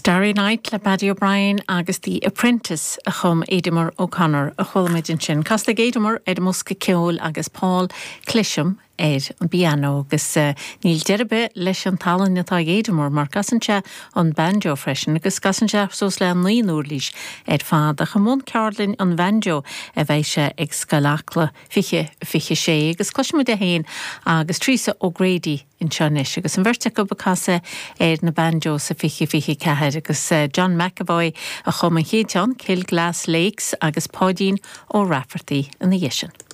Starry Night le Paddy O'Brien agus The Apprentice a chum Aidemer O'Connor a chuala muid ansin. Casta ag Aidemer ar an mbosca ceoil agus Paul Clisham ar an bpianó agus níl deireadh ar bith leis an tallann atá ag Aidemer mar casann sé an banjo freisin agus casann sé suas le 9 n-uirlís ar fad ach i mbun ceardlann an bhanjo a bheidh sé ag Scoil Acla 20 26 agus cloisfimid é féin agus Teresa O'Grady anseo anois agus an bheirt acu ag casadh ar na banjos sa 20 24 agus John McEvoy a chum an chéad cheann, Kilglass Lakes agus Páidín Ó Raifeartaigh ina dhiaidh sin.